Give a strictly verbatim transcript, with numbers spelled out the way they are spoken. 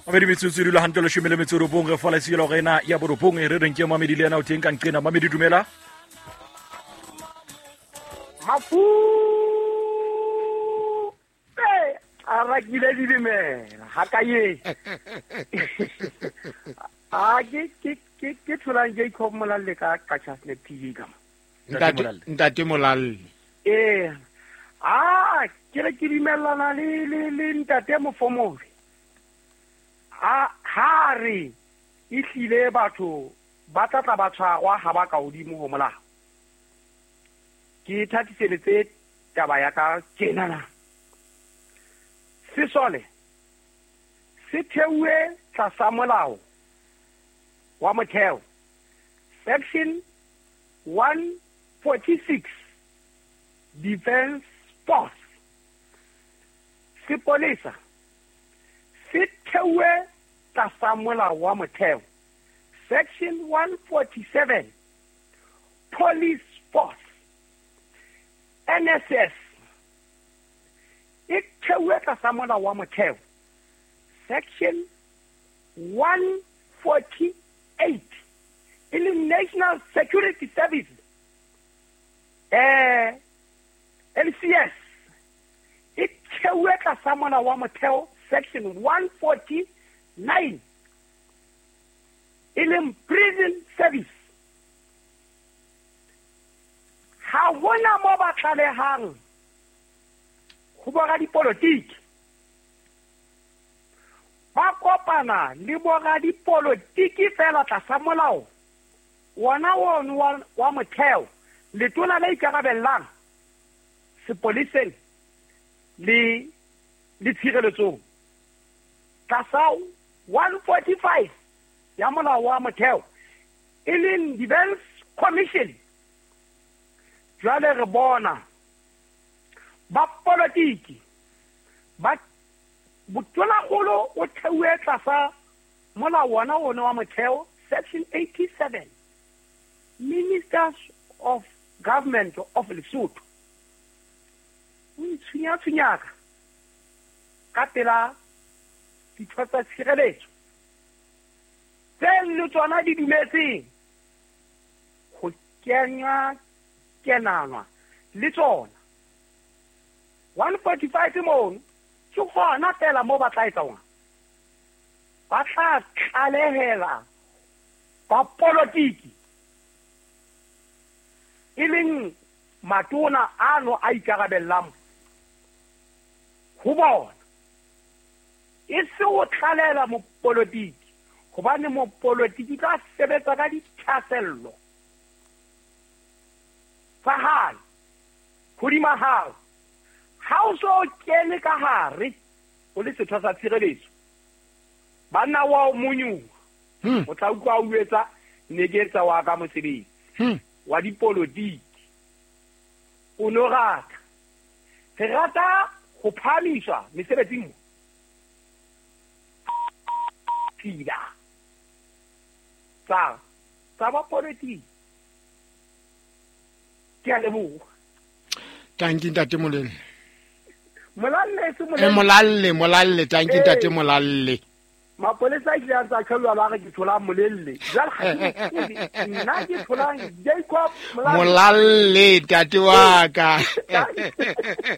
Mamedi metsotso e dula hantle leshome le metso e robong re fola selo rena ya borobong e re reng ke Mamedi le yena o teng ka nqena. Mamedi dumela. Mafu a rakile dilemela ha ka ye. A ke ke ke ke tholang Jacob Molalle ka Qacha's Nek T V ka. Ntate Ntate Molalle. Eh. Ah, ke re ke dumellana le le le ntate Mofomobe. A ha re e hlile batho ba tla tla ba tshwarwa ha ba ka hodimo ho molao. Ke thathiseletse taba ya ka tjena na. Sesole se theuwe tlasa molao wa motheo section one forty-six Defense Force. Sepolesa se theuwe tlasa molao wa motheo section one forty-seven Police Force. N S S e theuwe tlasa molao wa motheo section one forty-eight e leng National Security Service eh L C S e theuwe tlasa molao wa motheo section one forty-nine e leng Prison Service. Ha hona mo ba tlalehang ho boradipolotiki, ba kopana le boradipolotiki fela tlasa molao wona ono wa, wa motheo. Letona le ikarabellang sepoleseng le le tshireletsong tlasa one forty-five ya molao wa motheo e leng Defense Commission. Jwale re bona ba politiki ba botonakgolo o theuwe tlasa molao wona ono wa motheo section eighty-seven Ministers of Government of Lesotho o itshunya-tshunyaka ka pela ditho tsa tshireletso tse le tsona di dumetseng ho kenywa kenanwa le tsona. One forty-five mono ke hona fela mo ba tla etsa hona, ba tla tlalehela ba politiki e leng matona ano a ikarabellang ho bona, e se o tlalela mopolitiki, hobane mopolitiki tla sebetsa ka dithasello tsa hae hodima hao. Ha o so kene ka hare o le setho sa tshireletso, banna wa o monyuwa o tla utlwa o etsa ne ke etsa wa ka mosebetsi wa dipolotiki. O no rata re rata ho phahamiswa mesebetsing mo tshila tsa tsa ba politiki. Ke a leboha. Tanki ntate Molelle. Molalle se Molelle. Eh Molalle, Molalle, tanki ntate Molalle. Mapolesa a ile a ntsa khelwa ba re ke thola Molelle. Jwale ha nna ke tholang Jacob Molalle. Molalle ntate wa ka.